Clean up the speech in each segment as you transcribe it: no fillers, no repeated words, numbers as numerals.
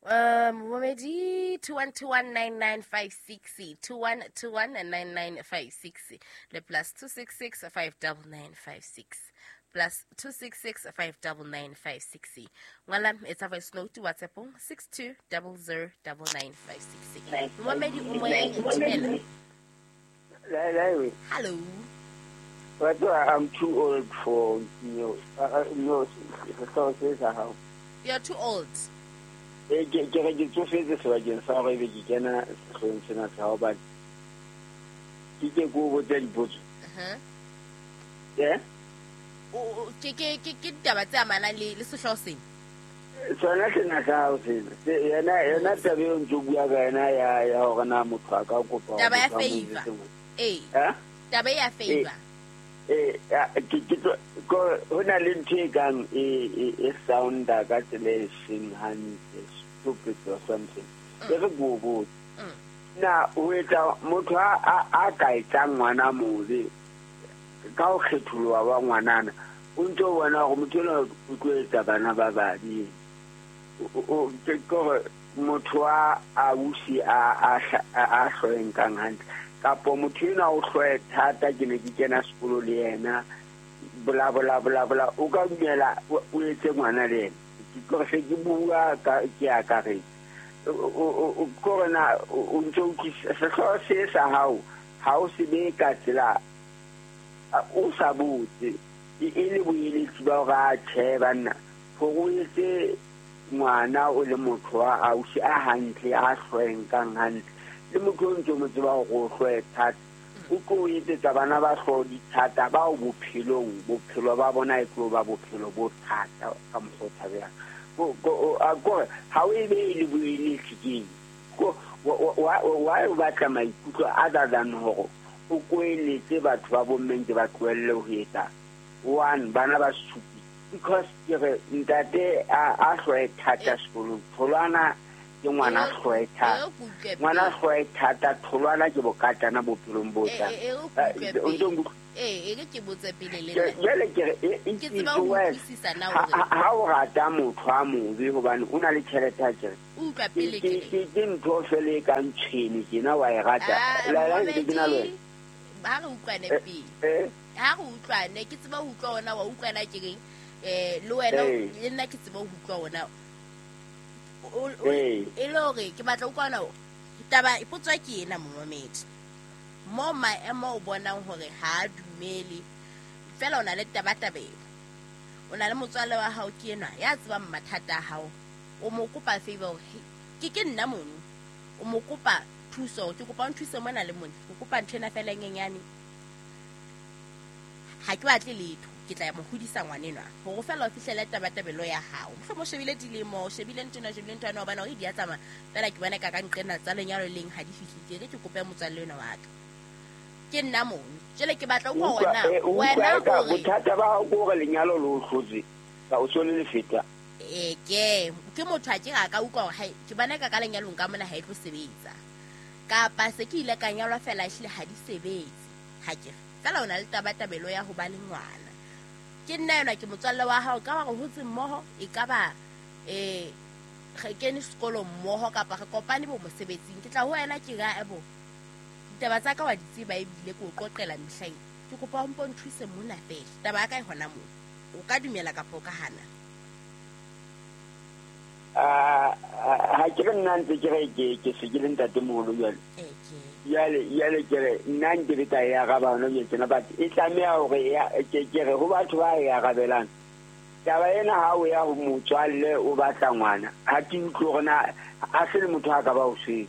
Momamedi, 21219956, 21219956 le +266 59956, +266 59956. Ngwala, etsa voice note WhatsAppong, 62009956. Momamedi o moyeng, dumela. Lai. Hello. But I'm too old for no sehlooho se sa hao. You're too old? Eh, ke re ke tsofetse sebakeng sa hore ebe ke kena sehloohong sena sa hao, but ke o botsa dipotso. Eh? Ke ditaba tse amanang le sehlooho sena? Sona sena sa hao sena. Yona taba eo ntso bua ka yona ya hore na motho a ka kopa hore Taba ya motho a mo favor. etsetse ngwana. Ee. Eh? Taba ya favor. Eh, ko ho na le ntho e kang e sounda ka tsela e seng hantle, stupid or something. E re ko o botse. Na o etsa motho a ka etsang ngwana mobe ka ho kgetholoha wa ngwanana, o ntso bona hore motho enwa o tlo etsa bana ba babe. Ke hore motho wa ausi a hloeng kang hantle, kapo motho enwa o hloe thata, ke ne ke kena sekolo le yena, bla bla bla bla, o ka dumela o etse ngwana le yena? Ke kore se ke bua ka ke akaretse. Kore na o ntso utlwisisa sehlooho se sa hao, ha o se be ka tsela o sa botse, e le boeletsi ba hore a tjhe banna, hore o etse ngwana o le motho wa ausi a hantle, a hloeng kang hantle, le motho o ntso mo tseba hore o hloe thata, o tlo o etsetsa bana ba hlooho di thata, bao bophelong bophelo ba bona e tlo ba bophelo bo thata ka mokgwa o tshabehang. Kore ha o e be e le boeletsi keng? Why o batla maikutlo other than hore o koeletse batho ba bommeng ke ba tlohelle ho etsa one bana ba stupid? Because ke re ntate a hloe thata sekolong, tholwana ke ngwana hloe thata, ngwana hloe thata, tholwana ke bokatana bophelong bo tlang. O ntso nkutlwa? Ee, e re ke botse pele le nna. Jwale ke re Ke tseba ho utlwisisa na hore ha o rata motho a mobe hobane o na le tjhelete, a kere Utlwa pele ke ke ntho fela e kang tshwene tjena, wa e rata. Ah, La ntse ke na le wena. Ha re utlwane pele. Ha re utlwane, ke tseba ho utlwa ona, wa utlwana ke reng, le wena le nna ke tseba ho utlwa ona. E le hore ke batla utlwa ona taba, potso ke ena, momamedi. Mo maemo o bonang hore ha a dumele, fela o na le tabatabelo, o na le motswalle wa hao ke enwa ya tsebang mathata a hao, o mo kopa favor hore ke nna mono, o mo kopa thuso, ke kopa o nthuse mona le mona, ke kopa ntho ena fela e nyenyane, ha ke batle letho, ke tla ya mo hodisa ngwanenwa, hore fela o fihlele tabatabelo ya hao. Mohlomong o shebile dilemo, o shebile ntho ena, o shebile ntho ena, o bona hore di a tsamaya fela, ke bona ka ka nqena tsa lenyalo leng ha di fihlile, ke re ke kope motswalle enwa wa ka, ke nna mono jwale, ke batla utlwa wena wena hore Bothata ba hao ke hore lenyalo le o hlotse ka o so le lefeta. Ee, ke motho a ke a ka utlwa hore hai, ke bona ka lenyalong ka mona ha e tlo sebetsa, kapa se ke ile ka nyalwa fela ehlile ha di sebetse, ha ke re fela o na le tabatabelo ya ho ba le ngwana, ke nna enwa, ke motswalle wa hao, ka ba re hotse mmoho, e ka ba re kene sekolo mmoho, kapa re kopane bo mosebetsing, ke tla ho wena, ke ra ebo ditaba tsa ka wa di tseba, ebile ke o qoqela mehlaeng, ke kopa o mpo nthuse mona fela, taba ya ka e hona moo, o ka dumela kapa o ka hana? Ha ke re nna ntse ke re ke se ke le ntatemoholo jwale. Jwale ke re nna nke ke ka e araba hona jwale tjena, but e tlameha hore ke re ho batho ba e arabelang taba ena, ha o ya ho motswalle o batla ngwana, ha ke utlwe hore na ha se le motho a ka ba o swetse,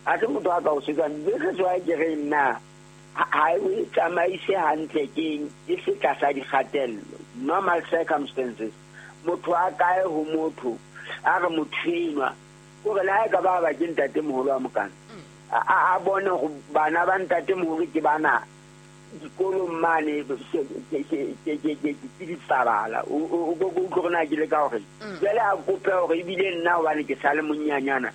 ha se motho a ka o swetsang. This is why ke re nna ha o e tsamaise hantle, keng e se tlasa dikgatello. Normal circumstances, motho a kae ho motho a re motho enwa kore le ha e ka ba ba ke ntatemoholo wa mokana, a bone hore bana ba ntatemoholo ke bana dikolong mane, ke dipabala, o ko utlwe hore na ke le ka hore jwale a kope hore ebile nna hobane ke sa le monyanyana,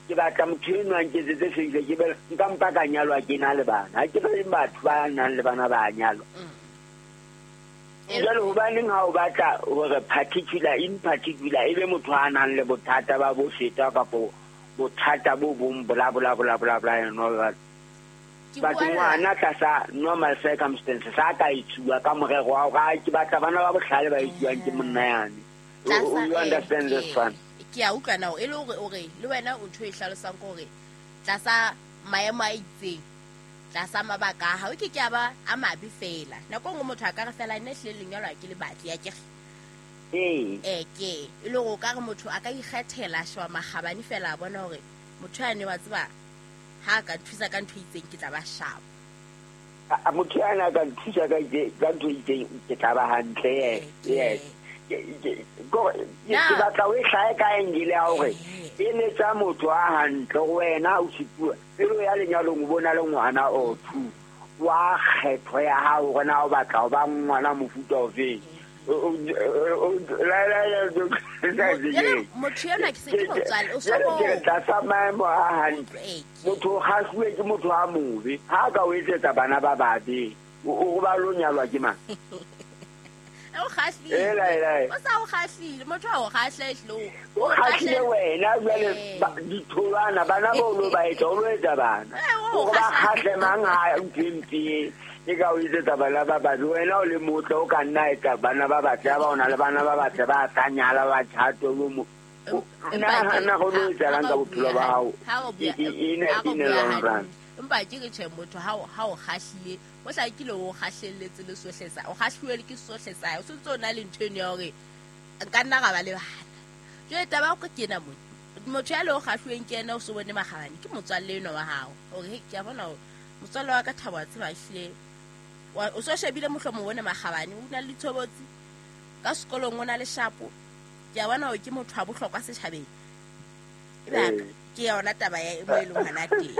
ke batla motho enwa a nketsetse favour, ke be nka mpa ka nyalwa ke na le bana. Ha ke re batho ba nang le bana ba nyalwa. Jwale hobaneng ha o batla hore particular in particular e be motho a nang le bothata ba bo feta kapa bothata bo bong bla bla bla bla bla and all that. But ngwana tlasa normal circumstances a ka itsuwa ka morero wa hore ke batla bana ba bohlale ba itsuwang ke monna yane. You understand this one? Ke a utlwa now e le hore o re le wena o ntho e hlalosang ke hore tlasa maemo a itseng tlasa mabaka a hao ke ke a ba a mabe fela. Nako nngwe motho a ka re fela nne hlile lenyalo ha ke le batle ya kere. Ee ke e le hore o ka re motho a ka ikgethela a sheba makgabane fela a bona hore motho yane wa tseba ha ka nthusa ka ntho itseng ke tla ba sharp. A motho yana a ka nthusa ka ntho itseng ke tla ba hantle. Yes. Ke batla o e hlahe ka angle ya hore e letsa motho a hantle go wena o sipua pelo ya lenyalong o bona le ngwana o two wa kgetho ya hao gore na o batla ho ba ngwana mofuta ofeng. Motho ena ke se ke motswale o so ke tlasa maemo a hantle. Motho o kgahluwe ke motho a mobe ha ka o etsetsa bana ba babe o ba lo nyalwa ke mang? O kgahlile. O sa o kgahlile motho a o kgahle ehlile o kgahlile wena jwale ditholwana bana ba o lo ba etsa o lo etsa bana o ba kgahle mang ha ntho e ka o etsetsa bana ba babe wena o le motle o ka nna etsa bana ba batle ba o na le bana ba batle ba tla nyala ba tjhato lo mo nna go lo etsalang ka bophelo ba hao in a long run. Empa ke re tjhe motho ha o kgahlile o hlakile o kgahlelletse le sohle sa o kgahluwe ke sohle sa o sentse o na le ntho eno ya hore nka nna ga ba le bana. Jwale taba ya ke ena mona motho ya le o kgahluweng ke ena o so bone makgabane ke motswalle eno wa hao hore ke a bona hore motswalle wa ka Thabo a tseba ehlile o so shebile mohlomong o bone makgabane o na le ditshobotsi ka sekolong o na le shapo ke a bona hore ke motho wa bohlokwa setjhabeng ebe ke yona taba ya mo e leng hona teng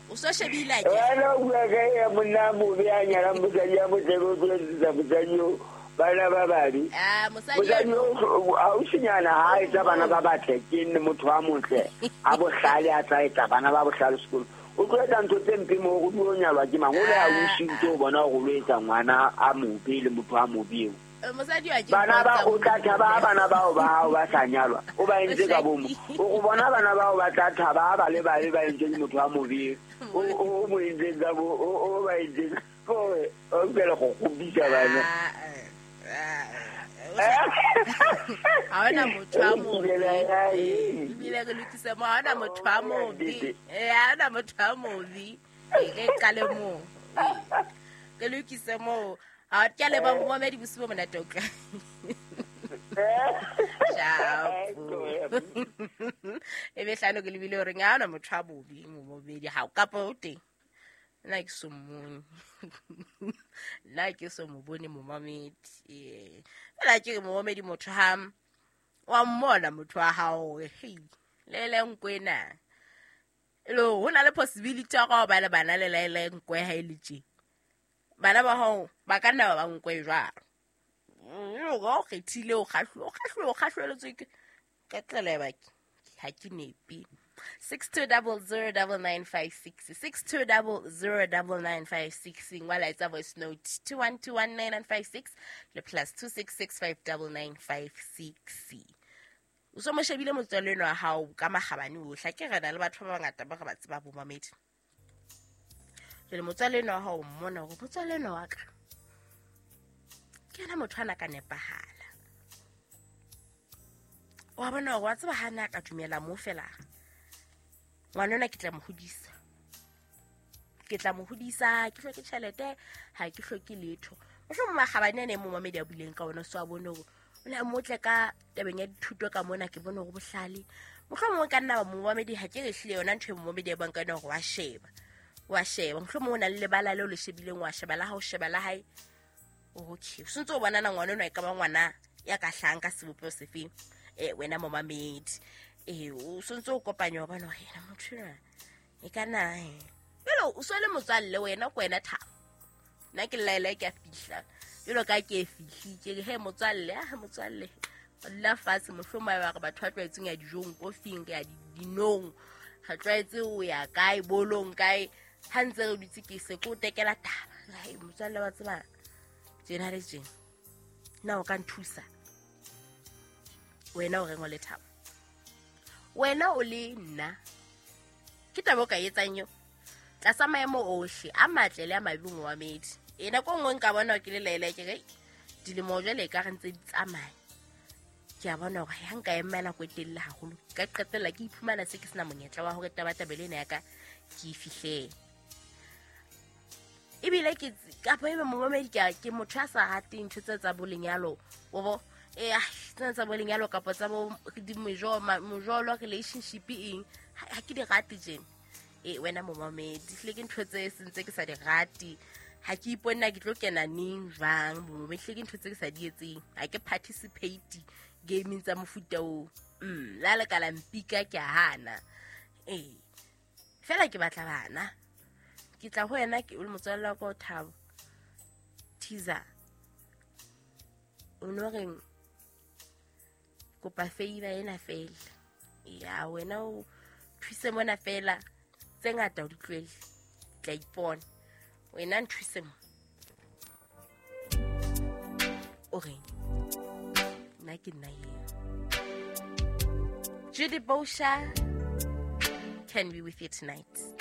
o so shebile a ke wena o bua ka ya monna mobe a nyalang mosadi ya motle o tlo etsetsa mosadi o bana ba babe mosadi o ausinyana ha etsa bana ba batle ke nne motho a motle a bohlale a tla etsa bana ba bohlale sekolo o tlo etsa ntho tse mpe mo go di nyalwa ke mang o le ausi ntse o bona gore o etsa ngwana a mobe le motho a mobe eo mosadi wa ke bana ba o tla thaba bana bao ba hao ba sa nyalwa o ba entse ka bomo o bona bana bao ba tla thaba ba le ba ba entse ke motho a mobe o mo entse ka bo o ba entse o ke le go gobisa bana ha ona motho a mobe ebile re lokise mo ha ona motho a mobe ha ona motho a mobe re qale moo re lokise moo. A ke le ba momedi bosibo monate o tla. Ciao. E be hlano ke lebile hore ha ona motho a bobe momedi ha o kapa o teng. Nna ke so mmone. Nna ke so mo bone momamedi. Fela ke re momamedi motho ha wa mmona motho wa hao hore hei le le nkwena. E le ho na le possibility ya go ba le bana le le nkwe ha e le tje. Bana ba hao ba ka nna ba nkwe jwalo. O kgethile o kgahlweletswe ke tlele ba ha ke nepi. 62009956 62009956 ngwala etsa voice note 2121956 le +26659956. O so mo shebile motswalle eno wa hao ka makgabane ohle ke re na le batho ba bangata ba re ba tseba bo mamedi. Jwale motswalle eno wa hao mmona hore motswalle eno wa ka ke yena motho ana ka nepahala. Wa bona hore wa tseba ha na ka dumela mo fela ngwana ona ke tla mo hodisa. Ke tla mo hodisa, ke hloke tjhelete, ha ke hloke letho. Mohlomong makgabane ane mo mamedi a buileng ka ona so a bone hore o ne a motle ka tabeng ya dithuto ka mona ke bone hore bohlale. Mohlomong ka nna ba mo mamedi ha ke re hlile yona ntho e mo mamedi a buang ka yona hore wa sheba. Wa sheba mohlomong o na le lebala leo le shebileng wa sheba la hao sheba la hae. Okay, o sentse o bona na ngwana ona e ka ba ngwana ya ka hlang ka sebopeho sefeng wena momamedi. O sentse o kopanya wa bona hore motho ena e ka na jalo o so le motswalle wena ko wena Thabo. Nna ke laela ke a fihla jalo ka ke e fihlile ke re he motswalle a motswalle o dula fatshe mohlomong ba re batho ba tlwaetseng ya dijong kofing ya dinong re tlwaetse o ya kae bolong kae ha ntse re dutse ke se ko tekela taba. Hai motswalle wa tseba Tjena le tjena. Na o ka nthusa? Wena o reng o le Thabo? Wena o le nna. Ke taba o ka etsang eo? Tlasa maemo ohle a matle le a mabe momamedi. E nako e nngwe nka bona ke le laela ke re dilemo jwale e ka re ntse di tsamaya. Ke a bona hore ha nka ema nako e telele haholo, ka qetella ke iphumana se ke sena monyetla wa hore tabatabelo ena ya ka ke e fihlele. Ebile ke kapa ebe momamedi ke motho a sa rateng ntho tse tsa bo lenyalo, o bo tsena tsa bo lenyalo kapa tsa bo mojolo relationship eng, ha ke di rate tjena. Wena momamedi, hlile ke ntho tse sentse ke sa di rate. Ha ke ipone na ke tlo kena neng jwang, momamedi, hlile ke ntho tse ke sa di etseng. Ha ke participate gaming tsa mofuta oo. La le ka la mpika ke a hana. Fela ke batla bana. Ke tla ho wena ke o le motswalle wa ka o Thabo. Teaser. O no reng kopa favor ena fela. Ya wena o thuse mona fela, tse ngata o di tlohele. Tla ipona. Wena nthuse mo. O reng? Nna ke nna eo. Judy Bosha can be with you tonight.